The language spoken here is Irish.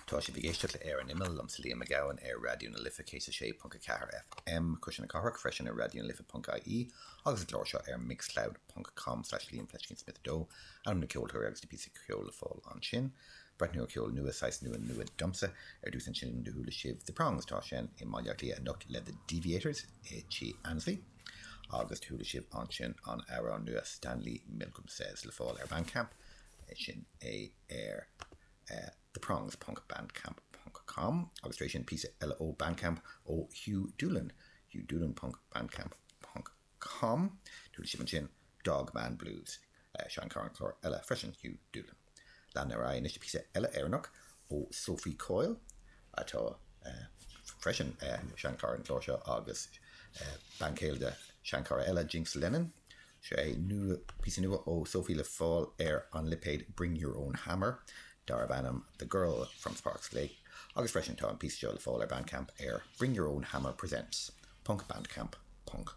Tá sibh ag éisteacht le Ar an Imeall, liomsa Liam Mac Gabhann ar Raidió na Life 106.4 FM, Cuisle na Cathrach, freisin ar raidionalife.ie agus an clár seo ar mixcloud.com slash liamfleiscínsmith 2. Ainm na ceoltóirí agus na píosaí ceoil le fáil ansin. Breathnú ar cheol nua, saghas nua nua domsa. Ar dtús ansin do chuala sibh The Prongs, atá ag seinm i mBaile Átha Cliath anocht le The Deviators i Tigh Annesley. Agus do chuala sibh ansin an amhrán nua Stanley Milgram Says le fáil ar Bandcamp, sin é ar theprongs ponc bandcamp ponc com. Agus tar éis sin píosa eile ó Bandcamp ó Hugh Doolan, hughdoolan ponc bandcamp ponc com. Do chuala sibh ansin Dog Man Blues, seanchara an chláir eile freisin, Hugh Doolan. Lean ar aghaidh anois le píosa eile Éireannach ó Sophie Coyle, atá freisin seanchara an chláir seo agus bean chéile de sheanchara eile, Jinx Lennon. Seo é píosa nua ó Sophie le fáil ar an lipéad Bring Your Own Hammer darb ainm The Girl from Sparks Lake agus freisin tá an píosa seo le fáil ar Bandcamp ar Bring Your Own Hammer Presents ponc bandcamp ponc.